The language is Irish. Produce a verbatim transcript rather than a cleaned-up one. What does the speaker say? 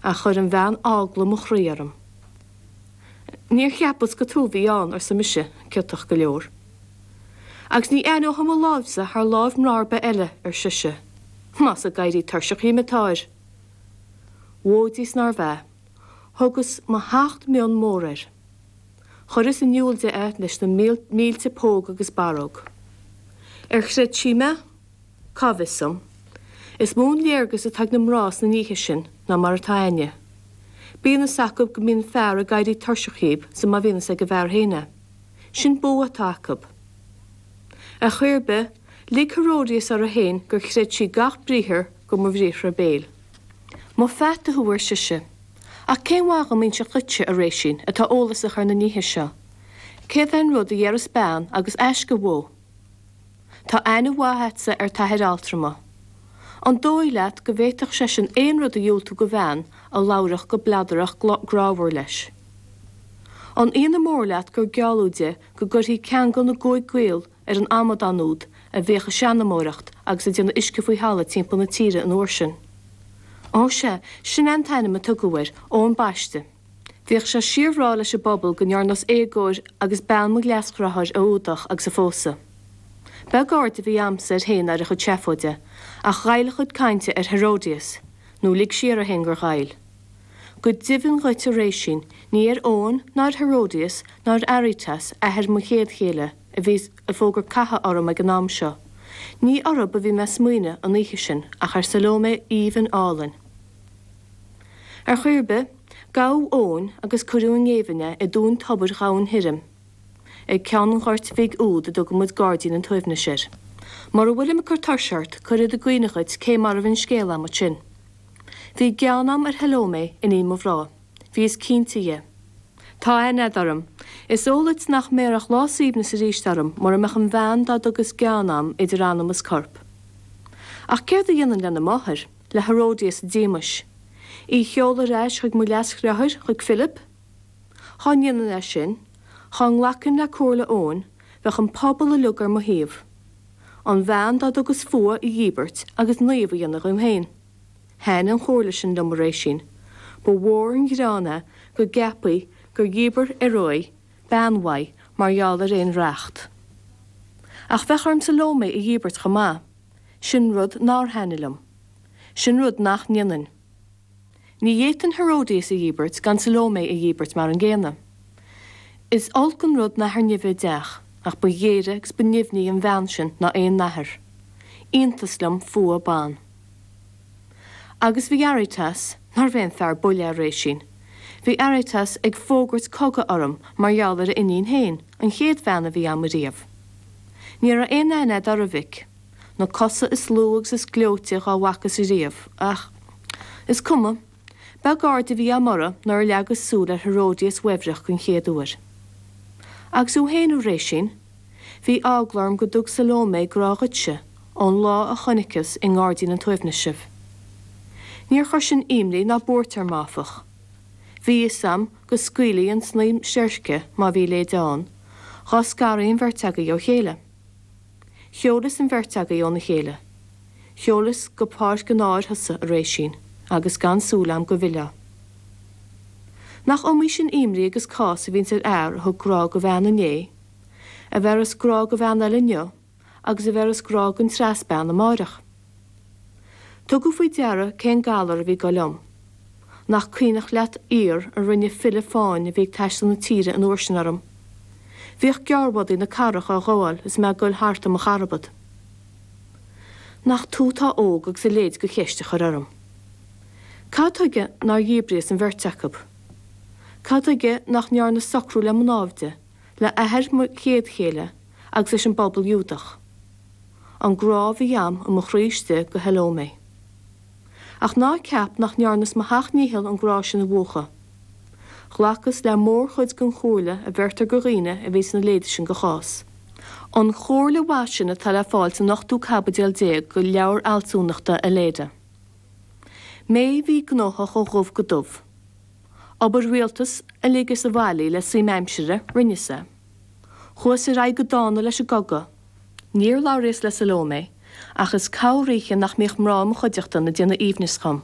Ach chuir an bhean eagla mo chroí orm. Níor cheapas gur tú a bhí ann, arsa mise, ciotach go leor. Agus ní aithneoidh mo láimhse thar láimh mná ar bith eile, ar sise. Más ag éirí tuirseach dhíom atáir. Mhóidíos nárbh ea. Thugas mo sheacht mionn mór air. Chuireas in iúl di é leis na mílte póg agus barróg. Ar chreid sí mé? Cá bhfios dom. Is mó an léargas atá ag na mná sna nithe sin ná mar atá againne. Bíonn fhios acu go mbíonn fear ag éirí tuirseach dhíob sa má bhíonn fhios ag an bhfear féin é. Sin bua atá acu. Ar chaoi ar bith, lig Herodias uirthi féin gur chreid sí gach briathar go mo bhriathra béil. Mo pheata thú, ar sise. Ach cén mhaith dhom inseacht dhuitse, a Réisín, atá eolasach ar na nithe seo? Céard é an rud a dhéarfas bean agus aisce uó? Tá aithne mhaith a'dsa ar t'athair altrama. An dóigh leat go bhféadfadh seisean aon rud a dhiúltú go bhean a labharfadh go bladarach grámhar leis? An ionadh mór leat gur gealladh di go gcuirfí ceangal na gcúig gcaol ar an amadán úd a bhíodh ag seanamóireacht agus ag déanamh uisce faoi thalamh timpeall na tíre an uair sin? Ó sea, sin é an t-ainm a tugadh air, Eoin Baiste. Bhíodh sé síorbhreá leis an bpobal go ndearnas éagóir agus bean mo leasdhreatháir a fhuadach agus a phósadh. Beag aird a bhí a'msa air féin ar a chuid seafóide, ach ghoill a chuid cainte ar Herodias, nó lig sí uirthi féin gur ghoill. Go deimhin dhuit, a Réisín, ní ar Eoin ná ar Herodias ná ar Aretas, athair mo chéad chéile, a bhí ag fógairt catha orm ag an am seo. Ní orthu a bhí mé ag smaoineamh an oíche sin ach ar Salómé aoibhinn álainn. Ar chaoi ar bith, gabhadh Eoin agus cuireadh i ngéibheann é i dtóin tobair dhomhain thirim, ag ceann an ghoirt bhig úd a dtugann muid Gairdín an tSuaimhnis air. Mura bhfuilim ag cur tuirse ort, cuirfead i gcuimhne dhuit cé mar a bhí an scéal a'm ansin. Bhí gean a'm ar Shalómé, iníon mo mhná. Bhíos cinnte dhe. Tá aithne a'd orm. Is eol duit nach mbéarfadh lá suaimhneas arís orm mura mbeadh an bhean dá dtugas gean a'm idir anam is corp. Ach céard a dhéanfainn lena máthair, le Herodias a díomais? Í sheoladh ar ais chuig mo leasdhreatháir, chuig Philip? Dhá ndéanfainn é sin, dhá nglacfainn le comhairle Eoin, bheadh an pobal uilig ar mo thaobh. An bhean dá dtugas fuath a dhíbirt agus naomh a dhéanamh dhíom féin. Thaitn an chomhairle sin liom, a Réisín. Ba mhór an gearán é go gceapfaí gur dhíbir Herói bean uaidh mar gheall ar aon reacht. Ach bheadh orm Salómé a dhíbirt chomh maith. Sin rud nár thaitnigh liom. Sin rud nach ndéanfainn. Ní fhéadfainn Herodias a dhíbirt gan Salómé a dhíbirt mar an gcéanna. Is olc an rud nathair nimhe i dteach, ach ba ghéire agus ba nimhní an bhean sin ná aon nathair. Iontas liom fuath ban. Agus bhí Aretas, nárbh aon fear buile é a Réisín. Bhí Aretas ag fógairt cogaidh orm mar gheall ar a iníon féin, an chéad bhean a bhí a'm ariamh. Ní raibh aon aithne a'd orra, a mhic. Na cosa is lú agus is gleoite dhá bhfacas ariamh, ach is cuma. Beag aird a bhí a'm orra nuair a leagas súil ar Herodias uaibhreach den chéad uair. Agus thú féin, a Réisín? Bhí eagla orm go dtug Salómé grá dhuitse ón lá a chonaiceas i nGairdín an tSuaimhnis sibh. Níor chuir sin imní ná buairt orm, áfach. Bhí fhios a'm go scaoilfí an snaidhm seirce, má bhí a leithéid ann, dhá scarfaí an bheirt agaibh ó chéile. Sheolas an bheirt agaibh óna chéile. Sheolas go páirc an áir thusa, a Réisín, agus gan súil a'm go bhfillfeá. Nach iomaí sin imní agus cás a bhíonns ar fhear a thug grá go bhean inné, a bhéarfas grá go bhean eile inniu, agus a bhéarfas grá gon treas bean amáireach. Tugadh faoi deara cén galar a bhí ag goil liom. Nach cuimhneach leat aoir a rinne file fáin a bhí ag taisteal na tíre an uair sin orm. Bhíodh gearrbhodaí na cathrach á ghabháil is mé ag goil thart i mo charbad. Nach tú atá óg agus a leithéid de cheist a chur orm. Cad tuige nár dhíbríos an bheirt acu? Cad tuige nach ndearnas socrú le mo náimhde, le athair mo chéad chéile agus leis an bpobal Iúdach? An grá a bhí a'm i mo chroí istigh go Shalómé. Ach ná ceap nach ndearnas mo sheacht ndícheall an grá sin a mhúchadh. Ghlacas le mórchuid den chomhairle a bheirtear go dhaoine a bhíonns ina leithéid sin de chás. An chomhairle mhaith sin atá le fáil san ochtú caibidil déag de leabhar fhealsúnachta Aleida. Mé bhí gnóthach ó dhubh go dubh. Obair rialtais a ligeas abhaile le suim aimsire, rinneas é. Chuas ar aghaidh go dána leis an gcogadh. Níor labhraíos le Salómé, ach is corroíche nach mbíodh mná i mo chuideachta ag déanamh aoibhnis dhom.